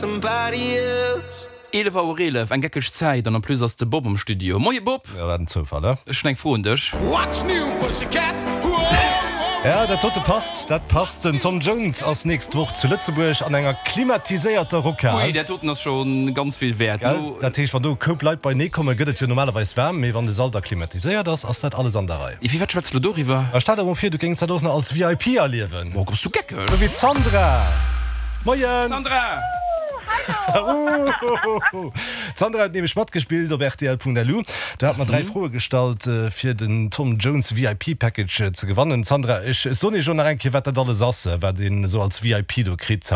11 Auer 11, eng geckeg Zäit an en plus ass de Bob am Studio. Moie Bob! Ja, wat en Zoufall, he? Ech hunn eng Fro un dech. What's new, Pussycat? Ja, dat dote passt, dat passt. Den Tom Jones ass nächst Woch zu Lëtzebuerg an enger klimatiséierter Rockhal. Ui, dat doten ass scho ganz vill wäert. Gell? Dat heescht, wann do e Koup Leit beienee kommen, gëtt et jo normalerweis waarm, mee wann de Sall da klimatiséiert ass, ass dat alles an der Rei. Iwwer wat schwätz de lo doriwwer? A stell der emol vir, du géings dat och nach als VIP erliewen. Oh, bass du geckeg? Sou wéi d'Sandra! Moien! Sandra! Hallo! D'Sandra huet nämlech matgespillt op rtl.lu. Do hat mer 3 Froe gestallt, fir den Tom Jones VIP Package ze gewannen. Sandra, ech soen iech elo nach eng Kéier, wat dat alles ass, wat een esou als VIP do kritt.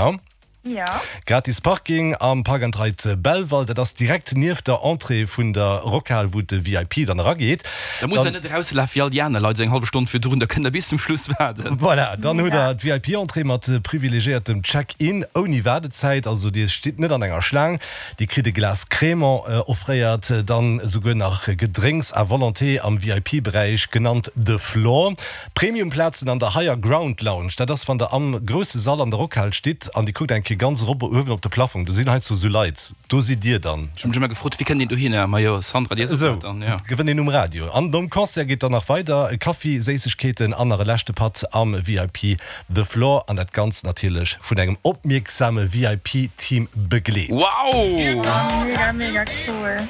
Jo. Gratis Parking am Park and Ride Belval, dat ass direkt nieft der Entrée vun der Rockhal, wou de VIP dann erageet. Da musst der net erauslafe wéi all déi aner Leit esou eng hallef Stonn virdrun, da kënnt der bis zum Schluss waarden. Voilà, dann hutt der d'VIP-Entrée mat privilegiéiertem Check-in ouni Waardezäit, also dir stitt net an enger Schlaang. Dir kritt e Glas Crémant offréiert, dann esouguer nach Gedrénks à volonté am VIP-Beräich, genannt The Floor. Premium-Plazen an der Higher Ground Lounge, dat ass wann der am grousse Sall an der Rockhal stitt an dir kuckt eng Kéier ganz erop uewen op de Plaffong, do sinn heiansdo sou Leit, do sidd dir dann. Ech hu mech ëmmer gefrot, wéi kënnt een dohinner? Majo, Sandra, dir sot dat dann, jo. Esou gewënnt een um Radio. An nom Concert geet dann nach weider, e Kaffi, Séissegkeeten an nach e leschte Patt am VIP The Floor an dat Ganzt natierlech vun engem opmierksame VIP-Team begleet. Wow! Mega, mega cool.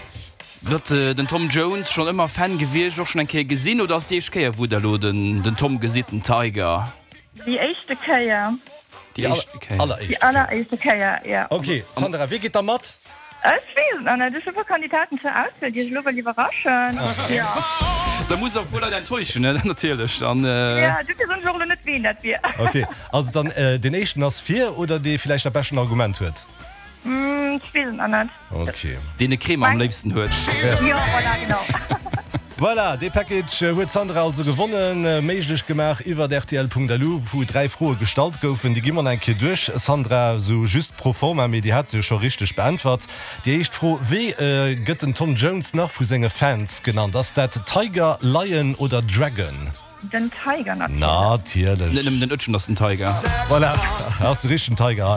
Wat, den Tom Jones schonn ëmmer Fan gewiescht, och schonn eng Kéier gesinn oder ass déi éischt Kéier wou der elo den den Tom gesitt, den Tiger? Déi éischte Kéier. Déi éischte Kéier. Déi alleréischte Kéier, jo. Ok, Sandra, wie geet da mat? Ech weess et nach net, ech hu puer Kandidaten zur Auswiel, déi ech elo wëll iwwerraschen, jo. Da muss der e puer Leit enttäuschen, ne, natierlech dann. Jo, dofir soen ech och elo net ween dat wier. Ok, also dann deen éischten ass vir oder dee villäicht dat beschten Argument huet? Ech weess et nach net. Ok. Deen e Crema am léifsten huet. Jo, voilà, genau. Voilà, dee Package huet d'Sandra also gewonnen. Méiglech gemaach iwwert rtl.lu, wou 3 Froe gestallt goufen. Déi gi mer nach eng Kéier duerch, Sandra, sou just pro forma, mee déi hat se jo scho richteg beäntwert. Déi éischt Fro, Wéi gëtt den Tom Jones nach vu senge Fans genannt? Ass dat Tiger, Lion oder Dragon? Den Tiger natierlech. Natierlech. Net nëmmen den Ötchen ass den Tiger. Voilà, ass de richtegen Tiger hei.